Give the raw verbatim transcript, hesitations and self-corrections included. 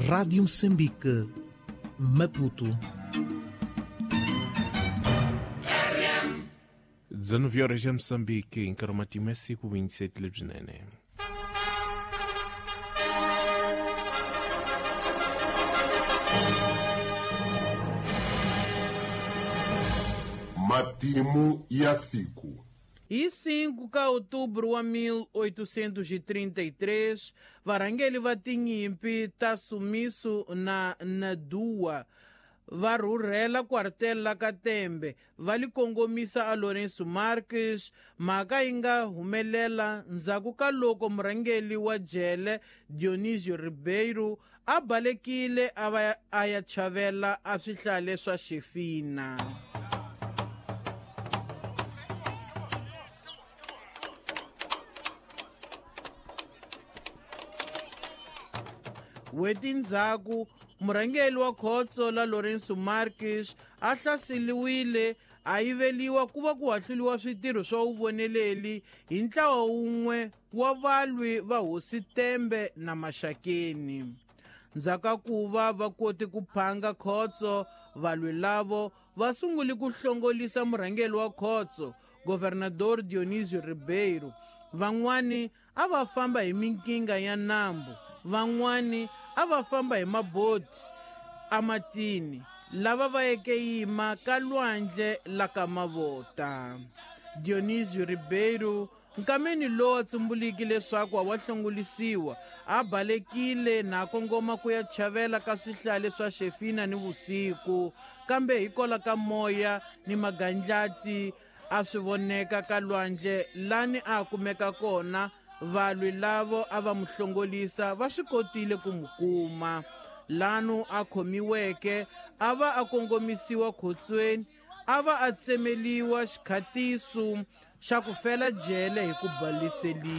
Rádio Moçambique, Maputo. dezenove horas em Moçambique, em Caromatimé, vinte e sete Lebzinene. Matimu ya siku. E cinco de outubro de mil oitocentos e trinta e três, varangeli va tinyimpi ta sumiso na Nadua va rhurhela quartel la Katembe va li kongomisa a Lourenço Marques. Mhaka yi nga humelela ndzhaku ka loko murhangeri wa jele Dionisio Ribeiro a balekile a va a ya chavela a swihlale swa Xefina. N'hweti ndzhaku, murhangeri wa khotso la Lourenço Marques a hlaseriwile a yiveriwa ku va ku hahluriwa switirho swa vuvoneleli hi ntlawa wun'we wa valwi va Hosi Tembe na Maxakeni. Ndzhaku ka ku va va kote ku phanga khotso, valwi lavo va sungule ku hlongolisa murhangeri wa khotso, Governador Dionisio Ribeiro. Van'wani a va famba hi minkinga ya nambu, van'wani a va famba hi maboti amatini, lava va yeke yima ka lwandle la ka Mavota. Dionisio Ribeiro nkameni lowu a tsumbuliki leswaku a wa hlongolisiwa, a balekile na kongoma ku ya chavela ka swihlale swa Xefina ni vusiku, kambe hikola ka moya ni magandlati a swi voneka ka lwandle lani a kumeka kona. Valwi lavo a va mu hlongolisa va swi kotile ku mu kuma. Lanu a khomiweke a va a kongomisiwa khotsweni, a va a tsemeliwa xikhatiso xa ku fela jele hi ku baliseliwa.